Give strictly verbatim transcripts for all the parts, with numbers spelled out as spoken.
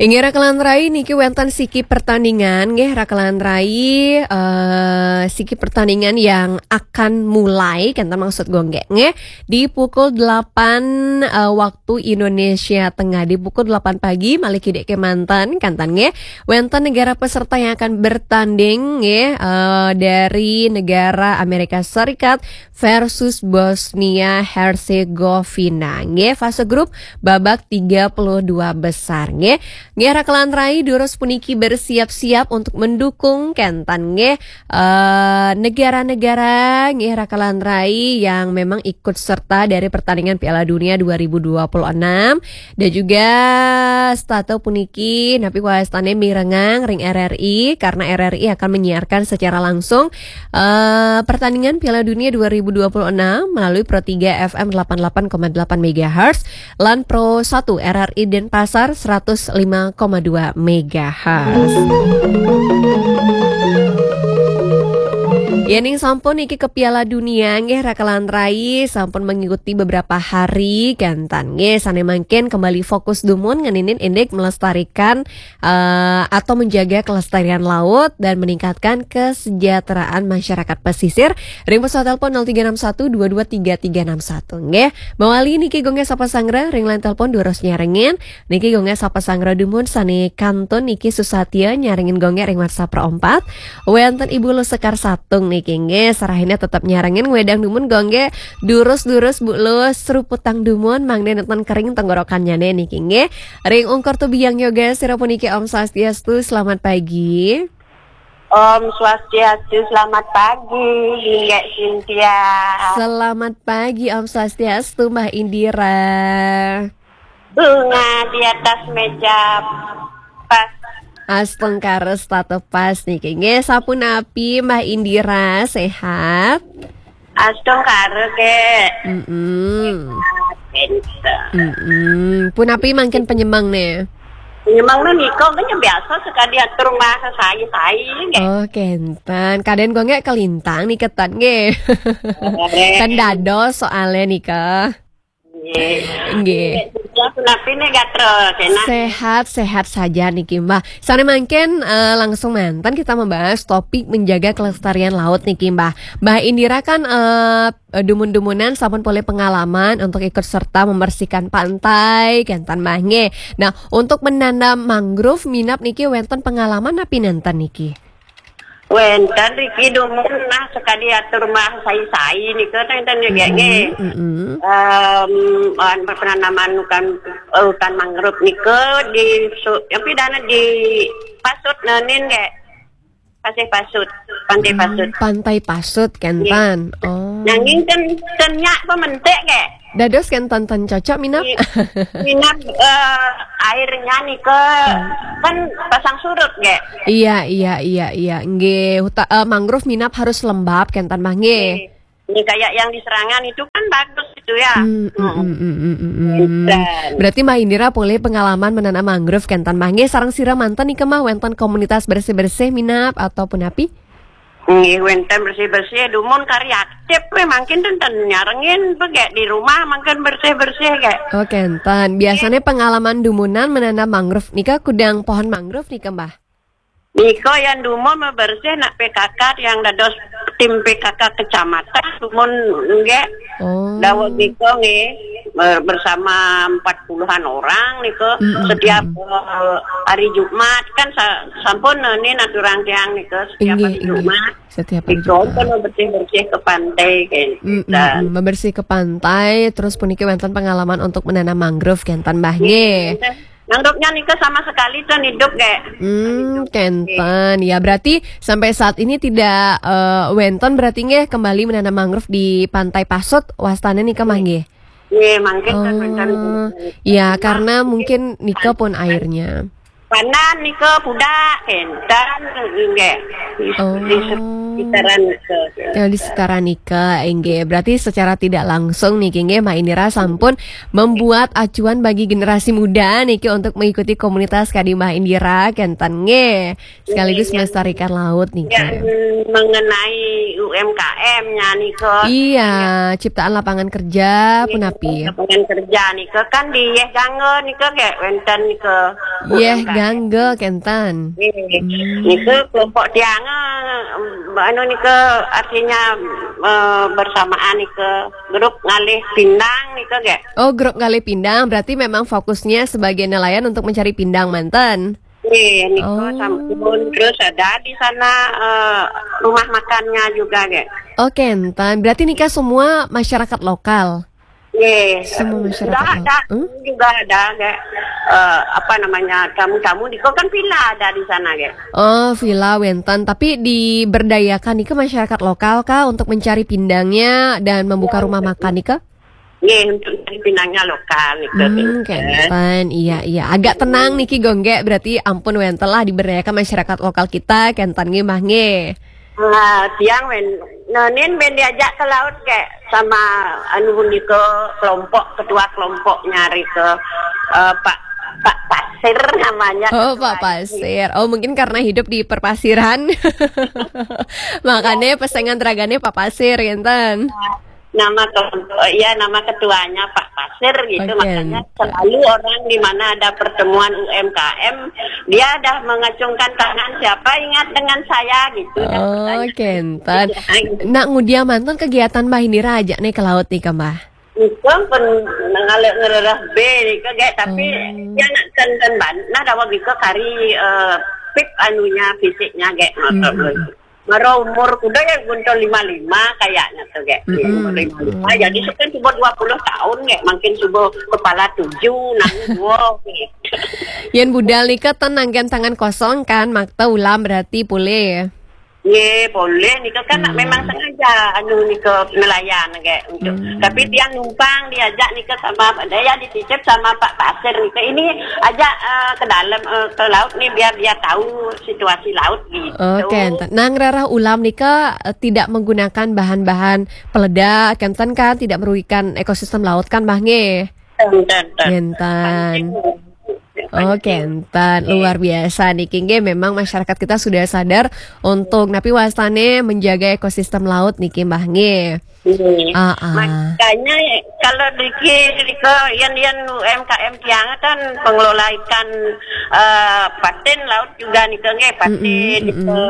Inggih, rakelan rai, niki wénten siki pertandingan, nggih, rakelan rai, eh, siki pertandingan yang akan mulai, kenten maksud gue nggih, nggih, di pukul delapan, eh, waktu Indonesia Tengah, di pukul delapan pagi, malih kidik kemanten, kenten nggih, wénten negara peserta yang akan bertanding, nggih, eh, dari negara Amerika Serikat versus Bosnia Herzegovina, nggih, fase grup babak tiga puluh dua besar, nggih. Nggih, rakelan rai, durus puniki bersiap-siap untuk mendukung, kenten nggih, eh, negara-negara, nggih, rakelan rai, yang memang ikut serta dari pertandingan Piala Dunia dua ribu dua puluh enam. Dan juga setata puniki napi wastane mirengang ring R R I, karena R R I akan menyiarkan secara langsung, eh, pertandingan Piala Dunia dua ribu dua puluh enam melalui Pro tiga F M delapan delapan koma delapan megahertz lan Pro satu R R I Denpasar seratus lima koma dua megahertz. Yening sampun niki ke Piala Dunia, nggih, rakelan rai, sampun mengikuti beberapa hari, kenten nggih, sane mangkin kembali fokus dumun ngeninin indik melestarikan, eh, atau menjaga kelestarian laut dan meningkatkan kesejahteraan masyarakat pesisir. Ring pesawat telepon nol tiga enam satu dua dua tiga tiga enam satu, nggih. Mawali niki gue nggih sapa sanggra, ring line telepon durus nyarengin. Niki gue nggih sapa sanggra dumun sane kantun niki susatia nyarengin gue nggih ring WhatsApp Pro empat. Wénten Ibu Lus Sekar Satung niki nggih, sarahina tetep nyarengin, ngwedang dumun gue nggih, durus-durus Bu Lus, seruputang dumun, mangda nenten kering tenggorokannyane niki nggih. Ring ungkur tubiang yoga, sira puniki Om Swastiastu, selamat pagi. Om Swastiastu, selamat pagi, Inggih Cynthia. Selamat pagi, Om Swastiastu, Mbah Indira. Bunga di atas meja pas. Astungkara setata pas niki. Nggih, sapunapi Mbah Indira, sehat? Astungkara, Kek. Mm-mm. Sehat, pinter. Mm-mm. Punapi mangkin penyemang ne? Penyemang ne nika, kan ya biasa sekadi atur rumah sai-sai, nggih. Oh, kenten. Kaden gue nggih kelintang nika ten nggih. Eh. Kan dados soale nika. Nggih. Nggih. Nggih, punapi ne gatra, sehat? Sehat, sehat saja niki, Mbah. Sane mangkin, eh, langsung manten kita membahas topik menjaga kelestarian laut niki, Mbah. Mbah Indira kan, eh, dumun-dumunan sampun polih pengalaman untuk ikut serta membersihkan pantai, kenten Mbah nggih. Nah, untuk menanam mangrove minab niki wénten pengalaman napi nenten niki? Wénten riki dumun nah sekadi atur rumah sai-sai nika, ten, ten, nggih, nggih. Mm-mm, mm-mm. Em, wan penanaman hutan, eh, hutan mangrove nika di su-, tapi dana di Pasut nenin, nggih. Pasih Pasut, Pantai Pasut. Hmm, Pantai Pasut, kenten. Nggih. Oh. Nanging ten, ten nyak pementik, nggih. Dados kenten ten cocok minab? Nggih. Minab, eh, airnya nika kan pasang surut, nggih. Iya, iya, iya, iya. Nggih, huta-, eh, mangrove minab harus lembab, kenten Mbah nggih. Nggih. Ini kayak yang di Serangan itu kan bagus itu ya. Hmm, hmm, hmm, hmm, hmm, hmm, hmm. Kenten. Berarti Mbah Indira polih pengalaman menanam mangrove, kenten Mbah nggih, sareng sira manten nika Mbah wénten komunitas bersih-bersih minab ataupun api? Nggih, wénten bersih-bersih, dumun kari aktif, weh, mangkin ten, ten nyarengin, pegek di rumah, mangkin bersih-bersih, gek. Oh, kenten. Biasanya pengalaman dumunan menanam mangrove nika, kudang pohon mangrove nika, Mbah? Nika yang dumun bebersih nak P K K, yang dados tim P K K kecamatan, dumun, nggih. Oh. Daweg nika, nggih, ber-, bersama empat puluhan orang nika, mm, mm, setiap, mm, eh, hari Jumat kan sa-, sampun, eh, nika aturan tiang nika setiap, inggih, hari, inggih, Jumat. Setiap hari Jumat. Nika pun bersih-bersih ke pantai, kayak gitu. Mm, mm, mm. Membersih ke pantai, terus puniki wénten pengalaman untuk menanam mangrove, kenten Mbah, nggih. Nggih. Mangrovenya nika sama sekali ten hidup, nggih. Hmm, kenten. Ya, berarti sampai saat ini tidak, eh, wénten berarti nggih kembali menanam mangrove di Pantai Pasut, wastane nika Mbah nggih? Nggih, mangkin ten wénten. Oh, ya, karena mungkin nika pun airnya. Panan nika pudak, kenten, nggih. Di, oh, di sekitaran nika. Ya, di sekitaran nika, inggih. Berarti secara tidak langsung niki nggih, Mbah Indira sampun membuat acuan bagi generasi muda niki untuk mengikuti komunitas kadi Mbah Indira, kenten nggih. Sekaligus, iya, melestarikan laut niki. Ya, mengenai U M K M-nya nika. Iya, ciptaan lapangan kerja, iya, punapi? Lapangan kerja nika kan di Yeh Gangga nika, nggih, wénten nika. Yeh, gangga, kenten. Nggih. Hmm. Nika kelompok tiang, eh, anu nika artinya, eh, bersamaan nika grup ngalih pindang nika, nggih. Oh, grup ngalih pindang, berarti memang fokusnya sebagai nelayan untuk mencari pindang manten? Nggih, nika. Oh. Sampun terus ada di sana, eh, rumah makannya juga, nggih. Oh, kenten. Berarti nika semua masyarakat lokal? Nggih. Semua masyarakat lokal. Ada, hmm? Juga ada, nggih. Eh, apa namanya, tamu-tamu nika kan villa ada di sana, nggih. Oh, villa wenten. Tapi diberdayakan nika masyarakat lokal kah untuk mencari pindangnya dan membuka rumah makan nika? Nggih, untuk mencari pindangnya lokal nika. Hmm, kenten. Iya, iya. Agak tenang niki, nggih. Berarti ampun wenten lah diberdayakan masyarakat lokal kita, kenten nggih, Mbah, nggih. Nah, tiang wen, nah, nin ben diajak ke laut, nggih, sama anu nika, kelompok, ketua kelompoknya nika, eh, Pak, Pak Pasir namanya. Oh, Pak Pasir. Oh, mungkin karena hidup di perpasiran. Makanya pesengan ragane Pak Pasir, kenten. Nama kelompok, ya, nama ketuanya Pak Pasir gitu. Oke. Makanya selalu orang di mana ada pertemuan U M K M, dia dah mengacungkan tangan, "Siapa ingat dengan saya?" gitu dah. Oh, kenten. Iya. Nak ngudiang manten kegiatan Mbah Indira ajak nih ke laut nih, Mbah? Nika pun ngalih ngerereh B nika, nggih, tapi dia nak kenten ban, nah, daweg nika kari, eh, pip anunya, fisiknya, nggih, ngoten lho. Mara umur kuda ya guntur lima lima kayaknya tuh, nggih. Umur lima lima. Jadi sukan coba dua puluh tahun, nggih, makin coba kepala tujuh, nang dua, nggih. Yen budal nika ten nanggen tangan kosong kan, makta ulam berarti pulih. Nggih, boleh nika kan memang sengaja anu nika nelayan, nggih, untuk. Tapi tiang numpang diajak nika sama, dia dititip sama Pak Pasir nika. Ini ajak, eh, ke dalam, eh, ke laut nih biar dia tahu situasi laut gitu. Oke, enten. Nah, ngrereh ulam nika, eh, tidak menggunakan bahan-bahan peledak, kenten kan tidak merugikan ekosistem laut kan, Mbah, nggih? Enten, enten. Enten. Oke, enten. Luar biasa niki, nggih, memang masyarakat kita sudah sadar untuk napi wastane menjaga ekosistem laut niki, Mbah, nggih. Nggih. Ah, ah. Makanya kalau niki, niki yen, yen U M K M tiang kan pengelola ikan, eh, patin laut juga nika, nggih, patin nika,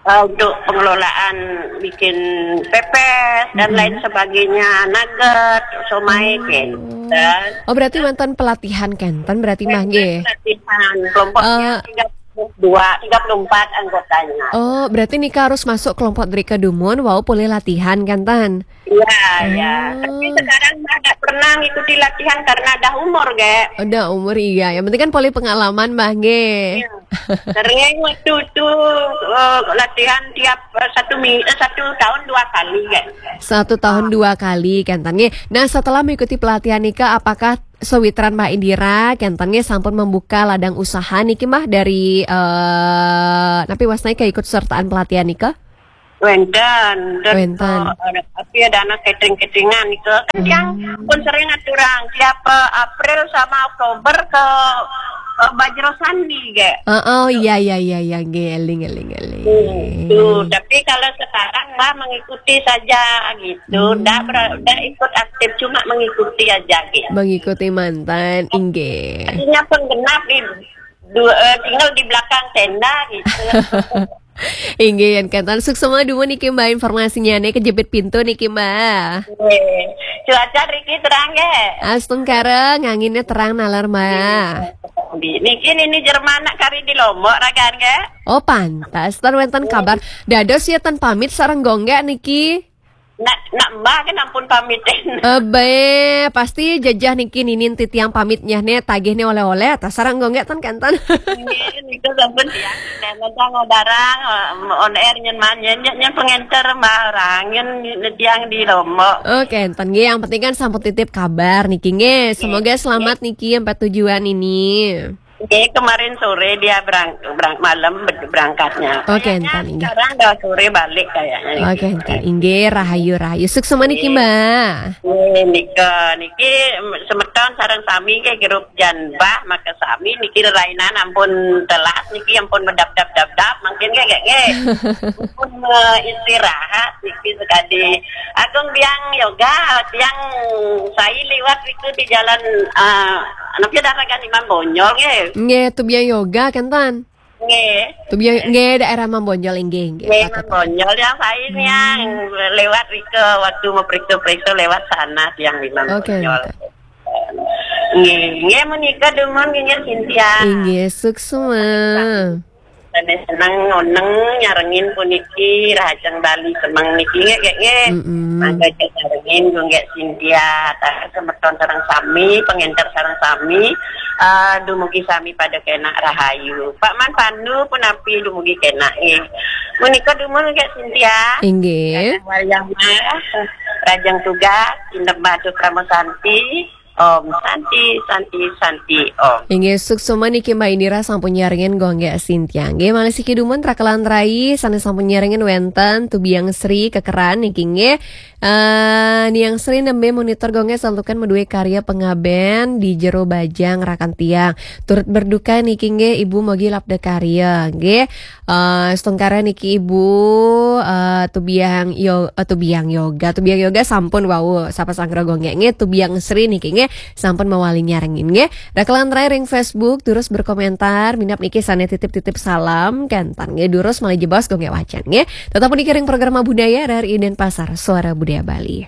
eh, untuk pengelolaan bikin pepes dan lain sebagainya, nugget, somai, kenten. Oh, berarti wonten pelatihan kenten berarti, Mbah, nggih? Pelatihan, kelompoknya tiga puluh dua, tiga puluh empat anggotanya. Oh, berarti nika harus masuk kelompok drika dumun, wau polih latihan kenten? Iya, iya. Tapi sekarang Mbah nggak pernah ngikuti latihan karena dah umur, nggih. Udah umur, iya. Yang penting kan polih pengalaman, Mbah, nggih. Iya. Sering waktu itu, eh, latihan tiap, eh, satu mi-, eh, satu tahun dua kali, nggih. Satu tahun dua kali, kenten, nggih. Nah, setelah mengikuti pelatihan nika, apakah sawitran Mbah Indira, kenten, nggih, sampun membuka ladang usaha niki, Mbah, dari, eh, napi wastane keikutsertaan pelatihan nika? Wenten, terus, eh, tapi ada anak catering-cateringan itu. Kan tiang pun sering aturang tiap, eh, April sama Oktober ke, eh, Bajro Sandi, nggih. Oh, oh, iya, iya, iya, iya, nggih, eling, eling, eling. Hmm, tuh, tapi kalau sekarang, Mbah, mengikuti saja gitu. Ndak ber-, ndak ikut aktif, cuma mengikuti aja gitu. Mengikuti manten, inggih. Artinya penggenap di dua, eh, tinggal di belakang tenda gitu. Inggih, yen kenten, suksma dumun niki, Mbah, informasinya nih, kejepit pintu niki, Mbah. Nggih. Cuaca riki terang, nggih? Astungkara, nganginnya terang nalar, Mbah. Nggih. Niki nini Jerman nak kari di Lombok ragan, nggih? Oh, pantas. Tan wenten kabar. Dados ya tan pamit sareng Gonggek niki. Nak, nak Mbah kan ampun pamit. Ebe, pasti jejeh niki ninin titiang pamit nyeh ne, tagih ne oleh-oleh, ta sareng Gonggek tan kenten. Nggih, niku sampun tiang. Nek datang ngadarang, eh, on air nyen man, nyen, nyen, nyen pengenter Mbah orang, nyen, nyen tiang di Lombok. Oh, kenten nggih, yang penting kan sampun titip kabar niki nggih. Semoga selamat niki sampai tujuan ini. Nggih, kemarin sore dia berang-, berang-, malam ber-, berangkatnya. Oh, kenten nggih. Sekarang dah sore balik kayaknya. Oh, kenten nggih, rahayu, rahayu. Suksma niki, Mbah. Nggih, nika, niki semeton sareng sami nggih grup Jan Mbah, maka sami niki rerainan ampun telas niki ampun medap-dap-dap-dap, mungkin nggih, nggih, nggih. Ampun, eh, istirahat niki sekali. Agung biang yoga, tiang sai liwat itu di jalan, eh, napa dah ragan Imam Bonjol nggih. Nggih, Tubiang Yoga kenten. Nggih. Tubiang nggih, daerah Mambonjol, inggih, inggih. Nggih, Patut. Mambonjol yang saya nih yang lewat riko waktu mau periksa-periksa lewat sana tiang di Mambonjol. Oke, oke. Nggih, nggih menika dumun nggih Cynthia. Inggih, suksma. Seneng ngoneng nyarengin puniki Rahajeng Bali Semeng niki nggih nggih. Mm-mm. Mangga nyarengin nggih Cynthia, taher semeton sareng sami, pengenter sareng sami. Eh, dumugi sami pada kenak rahayu. Pak Man Pandu punapi dumugi kenak nggih. Menika dumun nggih Cynthia. Inggih. Wayah mah, Rahajeng tugas, Indem Batu Krama Santi. Om Santi, Santi, Santi, Om. Inggih, suksma niki Mbak Indira sampun nyarengin Gung Gék Cynthia. Nggih, malih siki dumun rakelan rai sané sampun nyarengin wénten Tubiang Sri Kekeran niki nggih. Eh, Niang Sri nembé monitor Gung Gék santukan madué karya pengabén di jero bajang rakan tiang. Turut berduka niki nggih Ibu, mogi labda karya nggih. Eh, setungkara niki Ibu, eh, Tubiang Yo, eh, Tubiang Yoga, Tubiang Yoga sampun wau sapa sanggra Gung Gék nggih, Tubiang Sri niki nggih sampun mawali nyarengin nggih. Rakelan rai ring Facebook terus berkomentar, minab niki sané titip-titip salam, kenten nggih durus malih jebos Gung Gék wacan nggih. Tetap niki ring program Budaya R R I Denpasar, Suara Budaya Bali.